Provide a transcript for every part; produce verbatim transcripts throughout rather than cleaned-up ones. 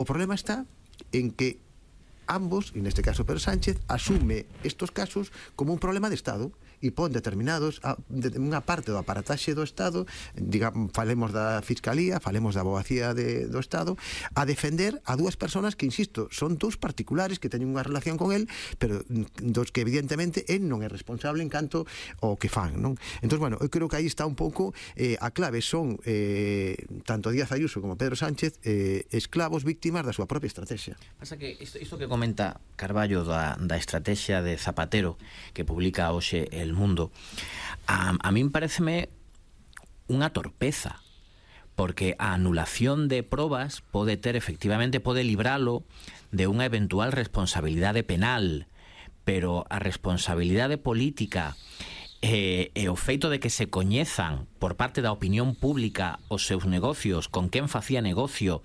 O problema está en que ambos, en este caso Pedro Sánchez, asume estos casos como un problema de Estado e pon determinados a, de, unha parte do aparataxe do Estado, digamos, falemos da Fiscalía, falemos da Abogacía de, do Estado, a defender a dúas persoas que, insisto, son dous particulares que teñen unha relación con el, pero dos que evidentemente el non é responsable en canto ao que fan, non? Entón, bueno, eu creo que aí está un pouco eh, a clave, son eh, tanto Díaz Ayuso como Pedro Sánchez eh, esclavos víctimas da súa propia estrategia. Pasa que isto, isto que comenta Carballo da, da estrategia de Zapatero que publica hoxe El Mundo, a, a min pareceme unha torpeza, porque a anulación de probas pode ter, efectivamente, pode libralo de unha eventual responsabilidade penal, pero a responsabilidade política e, e o feito de que se coñezan por parte da opinión pública os seus negocios, con quen facía negocio,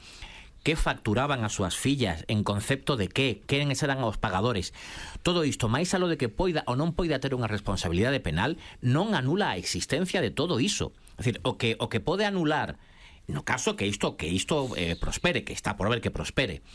que facturaban as súas fillas, en concepto de que, quen eran os pagadores. Todo isto, máis alo de que poida ou non poida ter unha responsabilidade penal, non anula a existencia de todo iso. É dicir, o que, o que pode anular, no caso que isto, que isto eh, prospere, que está por ver que prospere,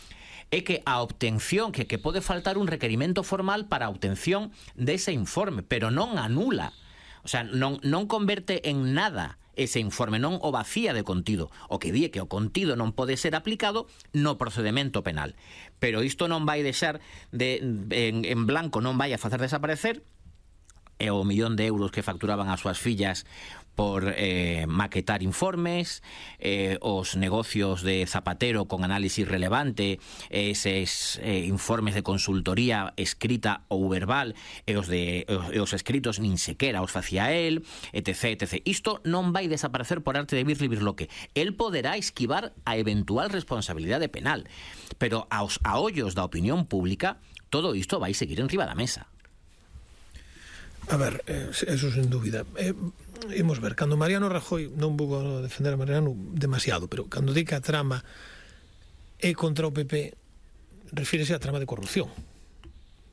é que a obtención, que, que pode faltar un requerimento formal para a obtención dese informe, pero non anula, o sea, non, non converte en nada ese informe, non o vacía de contido, o que di que o contido non pode ser aplicado no procedemento penal. Pero isto non vai deixar de, en, en blanco, non vai a facer desaparecer e o millón de euros que facturaban as súas fillas por eh, maquetar informes, eh, os negocios de Zapatero con análisis relevante, eses eh, informes de consultoría escrita ou verbal, e os, de, e os escritos nin sequera os facía el, etc, etcétera. Isto non vai desaparecer por arte de Birli Birloque. El poderá esquivar a eventual responsabilidade penal, pero aos aollos da opinión pública todo isto vai seguir enriba da mesa. A ver, eh, eso sin dúbida. Eh, imos ver, cando Mariano Rajoy, non vou a defender a Mariano demasiado, pero cando di que a trama é contra o P P, refírese á trama de corrupción,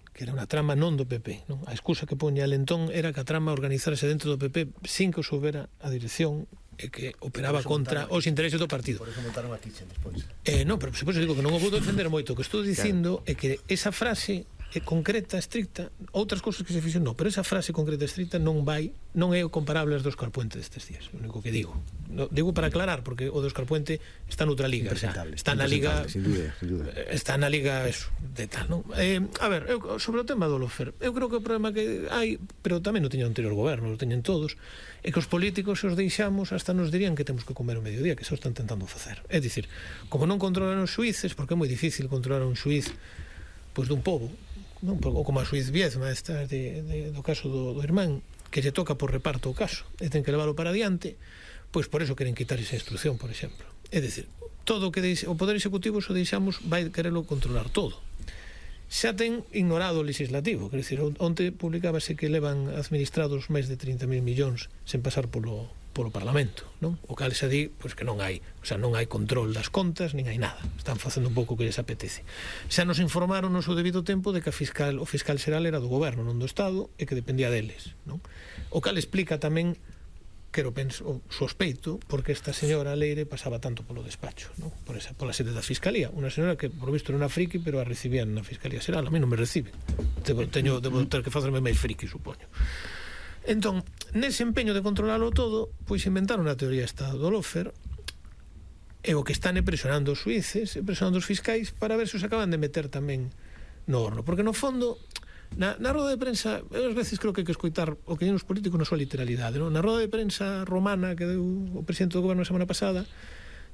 que era unha trama non do P P, non? A excusa que poña el entón era que a trama organizarse dentro do P P sin que o soubera a dirección e que operaba contra os intereses do partido. Por eso montaron a Kitchen despois. Eh, non, pero por digo que non o vou defender moito. O que estou dicindo claro. É que esa frase é concreta, estricta, outras cousas que se fixen non, pero esa frase concreta, estricta non vai, non é o comparable ás do Óscar Puente destes días, o único que digo. No, digo para aclarar, porque o do Óscar Puente está noutra liga, o sea, está na liga, sin duda, sin duda. Está na liga eso, de tal, non? Eh, a ver, eu, sobre o tema do Lofer, eu creo que o problema que hai, pero tamén o teño o anterior goberno, o teñen todos, é que os políticos se os deixamos hasta nos dirían que temos que comer o mediodía, que se o están tentando facer. É dicir, como non controlan os xuíces, porque é moi difícil controlar un xuíz pois dun pobo, non, ou como a xuiz Viezma esta de, de, do caso do, do irmán, que lle toca por reparto o caso e ten que leválo para adiante, pois por eso queren quitar esa instrucción, por exemplo. É dicir, todo o que deixe, o Poder Executivo se o deixamos vai quererlo controlar todo. Xa ten ignorado o legislativo, quer dizer, onte publicábase que levan administrados máis de trinta mil millóns sen pasar polo polo Parlamento, non? O cal xa di, pois que non hai, o sea, non hai control das contas, nin hai nada. Están facendo un pouco o que lles apetece. Xa nos informaron no seu debido tempo de que a fiscal, o fiscal xeral era do goberno, non do Estado, e que dependía deles, non? O cal explica tamén, quero penso, o sospeito, porque esta señora Leire pasaba tanto polo despacho, non? Por esa, pola sede da Fiscalía. Unha señora que, por visto, era unha friki, pero a recibían na Fiscalía Xeral. A mí non me recibe. Debo, teño, debo ter que facerme máis friki, supoño. Entón, nese empeño de controlarlo todo, pois inventaron a teoría esta do Lofer, e o que están é presionando os suíces, e presionando os fiscais para ver se os acaban de meter tamén no horno, porque no fondo na, na roda de prensa, ás veces creo que hai que escoitar o que hai nos políticos na súa literalidade, non? Na roda de prensa romana que deu o presidente do goberno a semana pasada,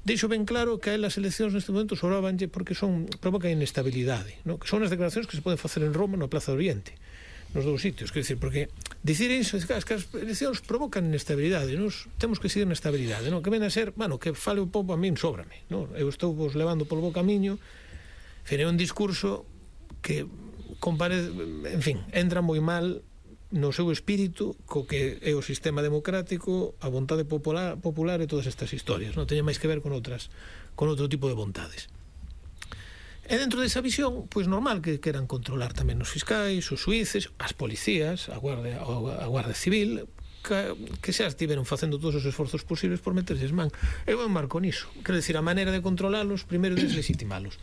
deixo ben claro que a elas eleccións neste momento sobrabanlle porque son, provocan inestabilidade, non? Que son as declaracións que se poden facer en Roma, na Plaza do Oriente, nos dous sitios, quer dizer, porque dicir iso, que as eleccións provocan inestabilidade, nos temos que seguir na estabilidade, non? Que ven a ser, bueno, que fale o povo a min sóbrame, non? Eu estou vos levando polo bo camiño, fere un discurso que compare, en fin, entra moi mal no seu espírito co que é o sistema democrático, a vontade popular, popular e todas estas historias, non teñen máis que ver con outras, con outro tipo de vontades. E dentro desa visión, pois normal que queran controlar tamén os fiscais, os suíces, as policías, a Guardia, a Guardia Civil, que, que xa estiveron facendo todos os esforzos posibles por meterses man. Eu marco niso. Quero dicir, a maneira de controlalos, primeiro deslegitimalos.